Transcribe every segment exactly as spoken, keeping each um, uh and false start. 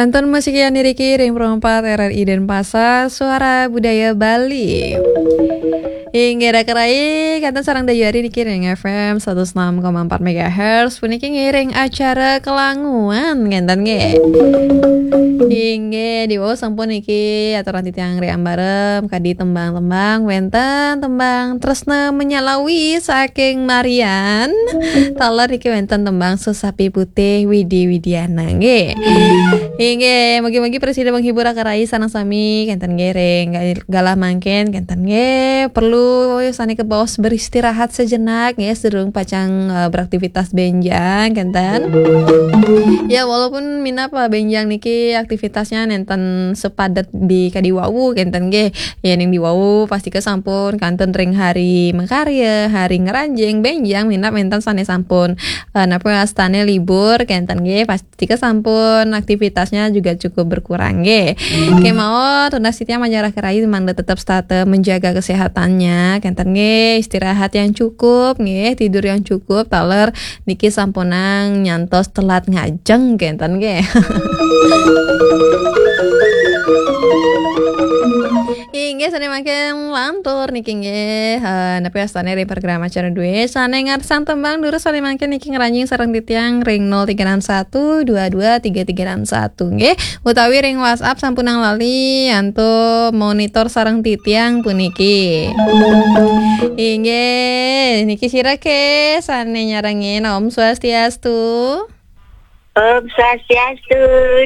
Kantun musik yang diriki ring Pro empat R R I Denpasar, Suara Budaya Bali. Inggih, Raka Rai, kantun sareng Dayu Ari niki ring F M satus enam koma empat megahertz, puniki ngiring acara Kelanguan, kenten nggih. Inggih, diwau sampun niki aturan titiang ring Ambarem, kadi tembang-tembang, wenten tembang Tresna Menyalawi saking Marian, taler niki wenten tembang Sesapi Putih Widi Widiana, nggih. Inggih, mugi-mugi prasida menghibur Raka Rai sareng sami, kenten nggih ring galah mangkin, kenten nggih perlu sane kebaos beristirahat sejenak nggih, sedurung pacang, eh, beraktivitas benjang, kenten. Ya, walaupun minab, eh, benjang niki aktivitasnya nenten sepadet di kadi wau, kenten nggih. Ya, ning di wau pastika sampun kantun ring hari makarya, hari ngranjing, benjang minab wenten sane sampun, eh, napa wastane libur, kenten nggih. Pastika sampun aktivitasnya juga cukup berkurang nggih. Kemawon tunas titiang majeng Raka Rai mangda tetap setata menjaga kesehatannya, kenten nggih, istirahat yang cukup nggih, tidur yang cukup, taler niki sampunang nyantos telat ngajeng, kenten nggih. Inggih, sane mangkin lantur niki nggih, eh, napa wastane ring program acara due sane ngarsang tembang durus sane mangkin niki ngranjing sareng titiang ring nol tiga enam satu dua dua tiga tiga enam satu nggih, utawi ring WhatsApp sampunang lali antuk monitor sareng titiang puniki. Inggih, niki sira ke sane nyarengin, Om Swastiastu. Om Swastiastu,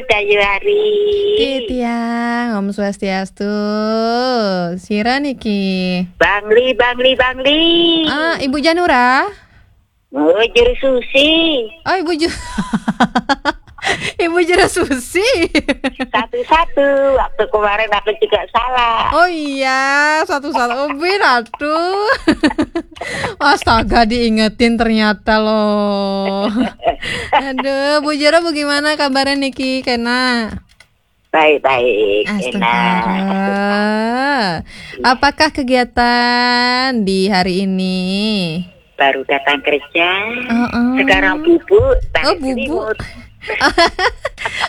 Dayu Ari. Titiang, Om Swastiastu. Sira niki? Bangli, Bangli, Bangli. Ah, Ibu Janura? Oh, Juru Susi. Oh, Ibu Ju-, Ibu Juru Susi. Satu-satu, waktu kemarin aku juga salah. Oh iya, satu-satu. Oh, bin, aduh. Astaga, diingetin ternyata loh. Aduh, Bu Jero, bagaimana kabarnya niki, kena? Baik-baik, Astaga. Enak. Apakah kegiatan di hari ini? Baru datang kerja, Heeh. Sekarang bubuk, Oh, tarik bubuk. Selimut.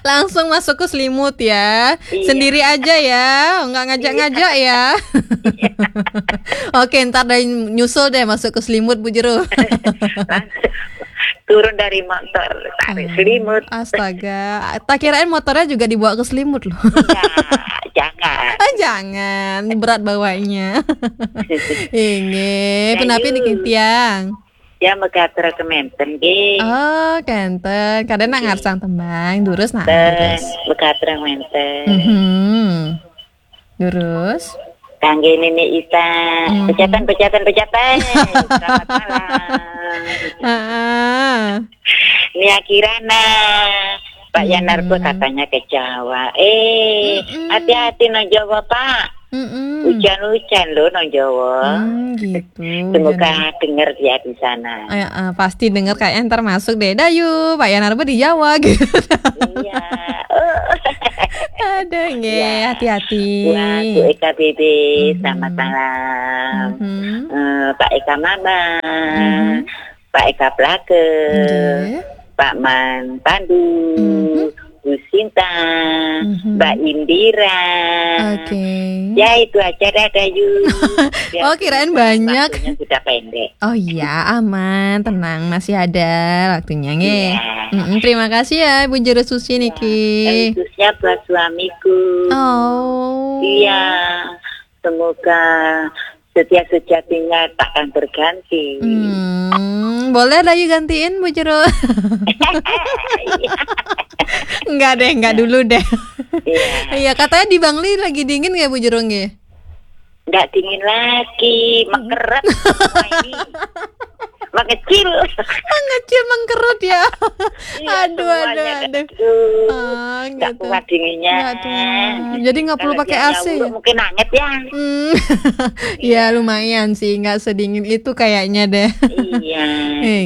Langsung masuk ke selimut ya. Iya. Sendiri aja ya, nggak ngajak-ngajak ya. Iya. Oke, ntar deh nyusul deh masuk ke selimut, Bu Jero. Langsung turun dari motor, tarik Hmm. selimut. Astaga, tak kirain motornya juga dibawa ke selimut loh. Enggak, jangan. Ah, jangan, berat bawanya. Inggih, Dayu. Punapi niki tiang? Ya, megatra kemanten nggih. Oh, kenten. Kadang nak Nggih. Ngarsang tembang, durus nak, Ten, durus. Megatra kemanten. Mhm. Durus. Kangge Nini Ita. Mhm. Pejatan, pejatan, pejatan. Selamat malam. Heeh. Nia Kirana. Pak Yanarko Hmm. katanya ke Jawa. Eh, Mm-mm. Hati-hati nang Jawa, Pak. Mm-mm. Hujan-hujan loh nang Jawa. Hmm, gitu. Semoga Jangan. Dengar dia di sana. Eh, eh, pasti dengar kayaknya ntar masuk deh. Dayu, Pak Yanarko di Jawa gitu. Iya. Oh. Aduh, nggih, Iya. Hati-hati. Buat Bu Eka B B, Mm-hmm. Selamat malam. Mm-hmm. Eh, Pak Eka Mama, Mm-hmm. Pak Eka Plake, Nggih. Pak Man Pandu, Mm-hmm. Bu Sinta, Mm-hmm. Mbak Indira. Oke. Ya, itu aja dah, Dayu. Biar Oh, kirain banyak. Waktunya sudah pendek. Oh iya, aman, tenang, masih ada waktunya, nggih. Iya. Mm-mm, terima kasih ya, Ibu Jero Susi niki. Khususnya buat suamiku. Oh. Iya, semoga setia sejatinya takkan berganti. Hmm, boleh Dayu gantiin, Bu Jero? Iya. Enggak deh, enggak dulu deh. Iya. Iya, katanya di Bangli lagi dingin nggih, Bu Jero, nggih? Nggak dingin lagi, mengkeret semua ini. Mengecil. Mengecil, mengkerut ya. Iya, aduh, aduh, semuanya aduh. Aduh, ah, nggak gitu. Kuat dinginnya. Nggak kuat. Jadi nggak perlu pakai A C ya? Kalau dia yang urut mungkin anget ya. Hmm. Iya. Ya, lumayan sih, nggak sedingin itu kayaknya deh. Iya,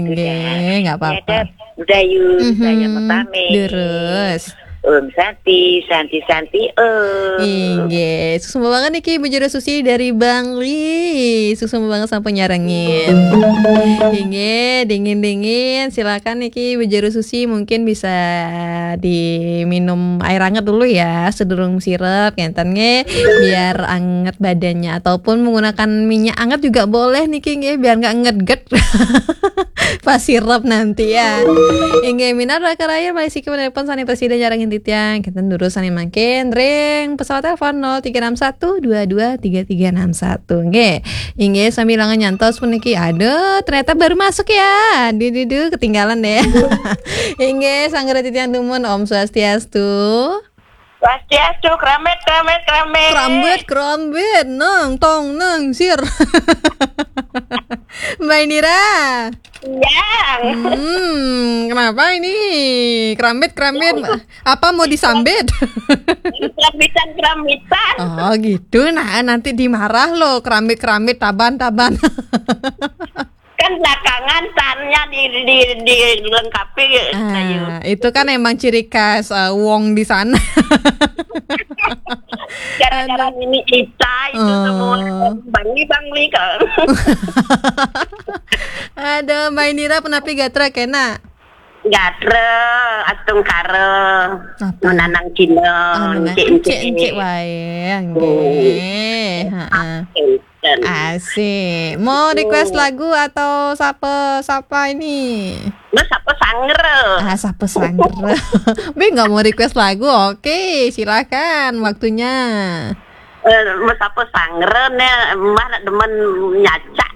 gitu Enggak, dah. Nggak apa-apa. Ya, dah. Udah, yuk, saya mau pamit. Terus. Om Santi, Santi, Santi, Om. Inggih, suksma banget niki Ibu Jero Susi dari Bangli. Suksma banget sampun nyarengin. Inggih, dingin-dingin. Silakan niki Ibu Jero Susi mungkin bisa diminum air anget dulu ya, sedurung sirup, ngenten nggih. Biar anget badannya, ataupun menggunakan minyak anget juga boleh niki nggih, biar nggak ngeget. Pas sirup nanti ya. Inggih, minangka raka rahayu, malih siki menelpon sané presida nyarengin titiang. Kita durus sané mangkin ring pesawat telepon nol tiga enam satu dua dua tiga tiga enam satu. Nggih. Inggih, sambil ngantos puniki. Aduh, ternyata baru masuk ya. Duh, duh, duh, ketinggalan deh. Inggih, sanggara titiang dumun, Om Swastiastu. Swastiastu, kerambit, kerambit, kerambit. Kerambit, kerambit, nang, tong, nang, sir. Mbak Indira. Yang. Hmm, kenapa ini? Kerambit, kerambit. Apa mau disambit? Kerambitan, kerambitan. Oh, gitu. Nah, nanti dimarah loh, kerambit, kerambit, taban, taban. Kan belakangan tannya di, di, dilengkapi. Ah, ayo. Itu kan emang ciri khas eh, Wong di sana. Gara-gara Aduh. Nini Ita itu Oh. Semua Bangli, Bangli kan. Aduh, Mbak Indira, penapi gatra kena? Gatra, astungkara, Apa? Menanang Cina, Oh, menanang encik-encik. Encik-encik wae, nggih. Heeh. Enten. Asik. Mau request lagu atau sapa-sapa ini? Mas apa sangger? Ah, sapa sangger? Bi nggak mau request lagu? Oke, silakan waktunya. Eh, Mas apa sangger nih? Mbah nak demen nyacak.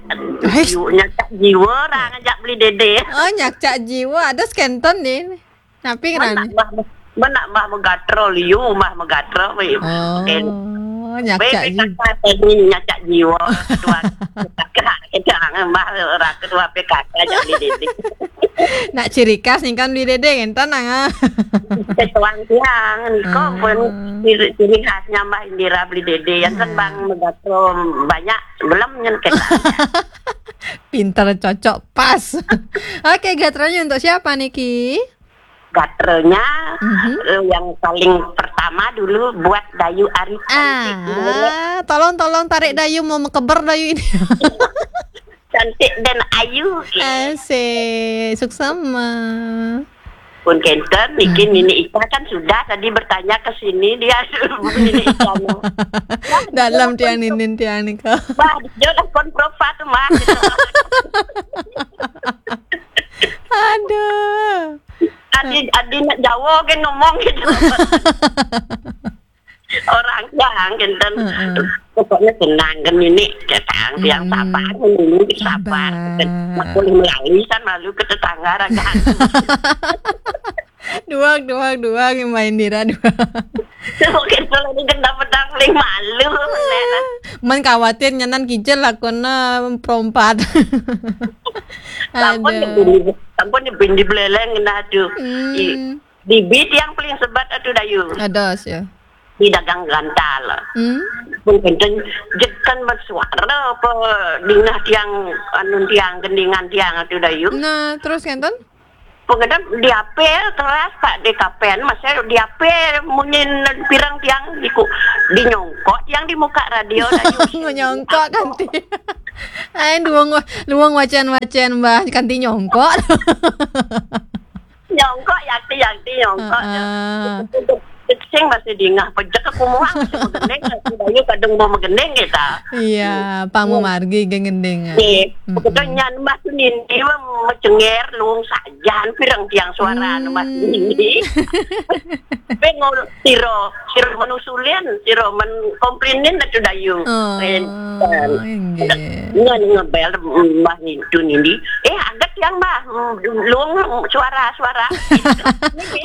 Eish. Jiwa, nyacak jiwa orang ajak beli dede. Oh, nyacak jiwa. Ada skenton nih. Napi Mana ngerane? Mbah, mana Mbah megatro liu, Mbah megatro weh. Oh, nyacak Weh, jiwa. P K K tadi nyacak jiwa. Ketua P K K, kita angan Mbah ora ketua P K K ajak beli dede. Nak ciri khas nih kan beli dede ngenten nang. Ketuang tiang, niko Ah. Pun ciri, ciri khasnya Mbah Indira beli dede. Yang kan Ah. Bang megatro banyak, belum nyen kita. Pinter, cocok, pas. Oke, gatranya untuk siapa niki? Gatranya Mhm. Eh, yang paling pertama dulu buat Dayu Ari cantik. Ah, tolong, tolong tarik Dayu, mau mekeber Dayu ini. Cantik dan ayu. Asik, suksema. Pun kenten, niki Hmm. Nini Ica kan sudah tadi bertanya ke sini dia Nini Ica. Dalam tiang ninin tiang nika. Bah, dia lah kon profa tu mah. Aduh. Adi, adi nak Jawa kan ngomong gitu. Orang yang kenten. Heeh. Pokoknya senang kan ini, kata yang Hmm. Sabar ini sabar. Sabar. Nak boleh melalui kan malu ke tetangga rakan. Duak, duak, duak, yang main dira duak. Mungkin kalau ini kena pedang paling malu. Man khawatir nyanan kijel lakona perompat. Sampun Aduh. Dibini, sampun dibini beleleng nah aduh. Hmm. I, di bit yang paling sebat aduh Dayu. Ados ya. Di dagang gantal. Hmm. Pun kenten jekan bersuara apa dingah tiang anu tiang gendingan tiang aduh Dayu. Nah, terus kenten? Pengadap diapel keras Pak di kapen, masa diapel munyin pirang tiang diku dinyongkok tiang di muka radio Dayu. Menyongkok kanti. Ai luwung wa-, luwung wacan-wacan Mbah kanti nyongkok. Nyongkok yakti yakti nyongkok. Heeh. Sing masih dingah pejek aku muang masih megending, aku Dayu kadung mau megending kita. Iya, pamu margi gengending. Nggih, Mm-mm. Kebetulan nyan Mbah tu nindi mah mecenger luung sajan pirang tiang suara Hmm. Mbah nindi. Pe ngol siro, siro menusulin, siro men komplinin atu Dayu. Oh, Enten. Nggih. Ngan ngebel Mbah nintu nindi. Eh, aget yang Mbah, luung suara-suara.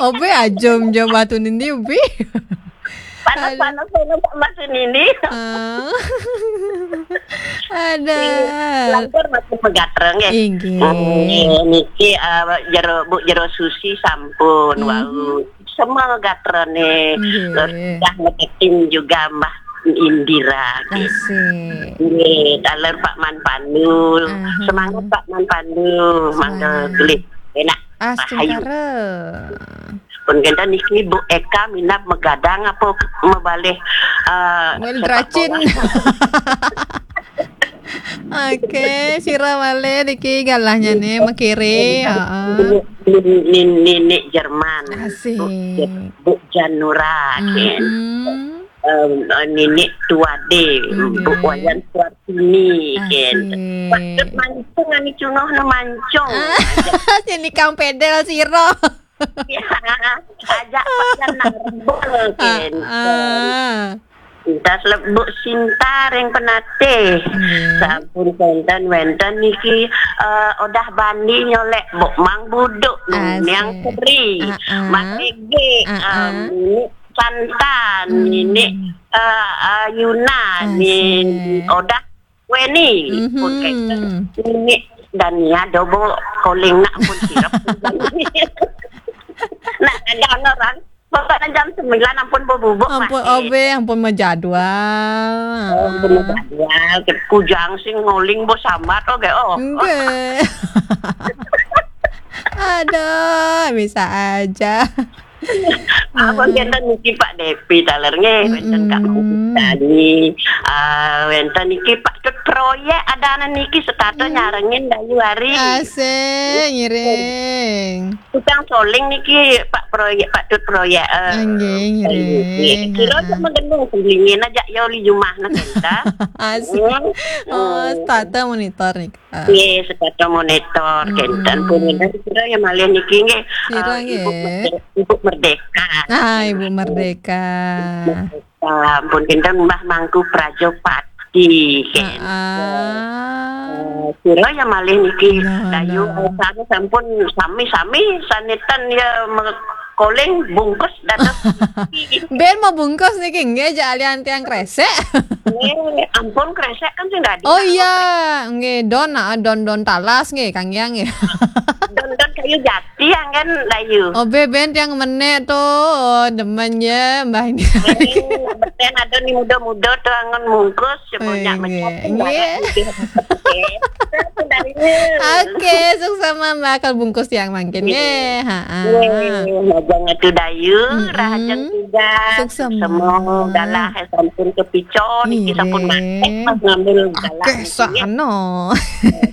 Obe ajom jom batu nindi ubi. Panas-panas, panas, panas ini. Ah. Ada. Lantur masih megatreng ya. Inggih. Hmm, niki eh, jero Bu Jero Susi sampun Mhm. Wau. Semua gatrene Inggih. Dah ngedekin juga Mbah Indira. Asik. Nggih, daler Pak Man Pandu. Aha. Semangat Pak Man Pandu. Mangga Semangat. Gelih. Enak. Rahayu. Astungkara. Pun kenten niki Bu Eka minab magadang apa mabalih, eh, Mul sepak dracin. Bola. Oke, sira malih niki galahnya nih, makiri, heeh. Nini, nini, nini Jerman. Asik. Bu, Bu Janura, ken. Mm-mm. Em, eh, nini Tuade, Bu Wayan Suartini, ken. Asik. Waktu mancung, ani cunguh na mancung. Ah, sini kang pedel sira. Ya, ajak padan narbel, ken. Ah, ah. Entas lebuk sinta ring penatih. Nggih. Sampun wenten, wenten niki, eh, Odah Bandi nyolek buk Mang Buduk, Asik. Niang Seri, ah, ah. Mak Ege, ah, ah. Em, nini Santan, hmm. Nini, eh, eh, Yuna, Asik. Nini Odah Weni, mhm. Pun kenten. Nini Dania dobo koling nak pun sirap. Nak ada orang. Pokoknya jam sembilan ampun bubuk. Ampun, masih. Obe, ampun majadwal. Oh, ampun majadwal. Kujang sing ngoling bos sambat, oke, oh. Enggak. Aduh, bisa aja. Apa kenten niki Pak Depi taler nggih, wenten Kak Tani, ah, wenten niki Pak Tut Proyek ada niki setata nyarengin Dayu Ari. Asik, ngiring. Tukang soling niki, Pak Proyek, Pak Tut Proyek, eh, ah, nggih, ngiring. Kira sama gendong sembelingin aja ya oli jumah na kenta. Asik. Hmm. Oh, hmm. Tata monitor nih, Kak. Nggih, setata monitor, hmm. Kenten pun kira ya malih niki nggih, sira eh, Ibu nggih. Merde-, Ibu Merdeka. Ah, Ibu Merdeka. Merdeka. Ampun kenten Mbah Mangku Prajopati, ken. Ah, ah. Eh, sira ya malih niki. Nah, Dayu, nah. Eh, sami sampun sami-sami saniten ya me-, koling bungkus dados. Ben mau bungkus niki nggih, aja alian tiang kresek. Nggih, ampun kresek kan sing dadi. Oh iya, nggih, don, ah, don, don talas nggih, Kang Yang nggih. Don, don kayu jati. Tiang kan Dayu. Oh, be, ben tiang menek to. Oh, demen ya, Mbah ini. Eh, beten ada ni muda-muda tu angon mungkus, sebanyak eh, macam nggih. Nggih. Oke, sukses Mbah, kalau bungkus tiang mangkin nggih. Nggih. Ha, ha. Nggih, majang atu Dayu, mm-mm. Rahajeng juga. Sukses, semua Mbah. Galah sampun kepico, niki sampun nggih. Matek pas ngambil galah. Akeh niki, ya. Sakno.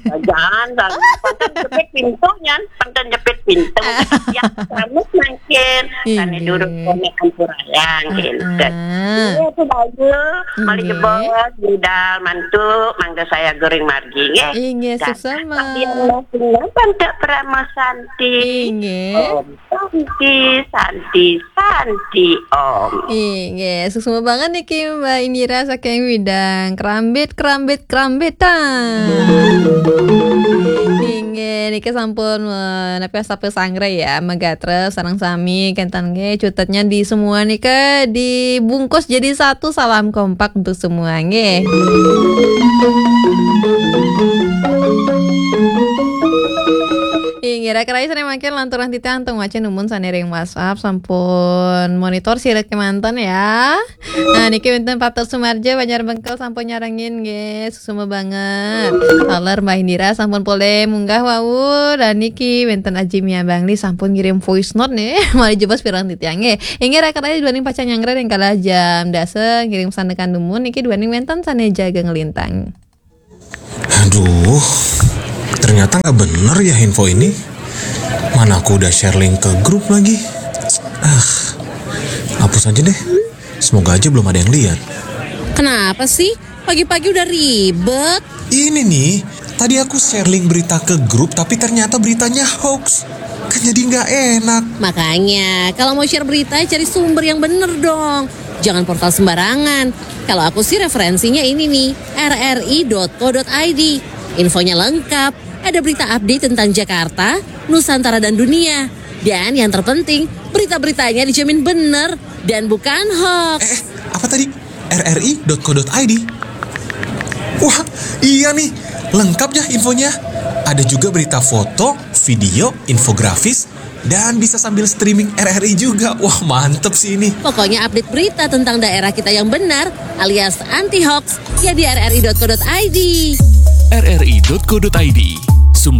Jangan, jangan. Pantun jepit pintu, nyan. Pantun jepit pintu. Ya, selamat mangkin. Sane inggih. Durung konek ampurayang, ah, gitu. Ah. Iya, itu Dayu. Mari inggih. Jebos, budal, mantu, mangga saya goreng margi, nggih. Inggih, dan suksma. Yang masing-masing, Tante Prama Santi. Inggih. Om Santi, Santi, Santi, Om. Inggih, suksma banget niki Mbak Indira saking Widang. Kerambit, kerambit, kerambitan. Inggih, niki sampun, eh, napi sapa sanggra ya, magatra sareng sami kenten nggih, cutetnya di semua nika dibungkus jadi satu, salam kompak untuk semua nggih. Inggih, kira-kira sane mangkin lanturan titiang teng waca numun sane ring WhatsApp sampun monitor sira kemanten ya. Nah, niki wenten Pater Sumarja Banjar Bengkel sampun nyarengin nggih, suksma banget. Taler Mbah Indira sampun polih munggah wau, dan niki wenten Aji Mia Bangli sampun ngirim voice note nih. Mari jebos pirang titiang nggih. Inggih, kira-kira duaning pacang nyanggra ring kala jam dasa ngirim sandekan numun niki duaning wenten sane jaga ngelintang. Aduh, ternyata nggak bener ya info ini. Mana aku udah share link ke grup lagi. Ah, hapus aja deh. Semoga aja belum ada yang lihat. Kenapa sih? Pagi-pagi udah ribet. Ini nih, tadi aku share link berita ke grup, tapi ternyata beritanya hoax. Kan jadi nggak enak. Makanya, kalau mau share berita, cari sumber yang bener dong. Jangan portal sembarangan. Kalau aku sih referensinya ini nih, R R I dot co dot I D. Infonya lengkap, ada berita update tentang Jakarta, Nusantara dan dunia. Dan yang terpenting, berita-beritanya dijamin bener dan bukan hoax. Eh, eh, apa tadi? R R I dot co dot I D. Wah, iya nih, lengkap ya infonya. Ada juga berita foto, video, infografis, dan bisa sambil streaming R R I juga. Wah, mantep sih ini. Pokoknya update berita tentang daerah kita yang benar alias anti hoax ya di R R I dot co dot I D. R R I dot co dot I D.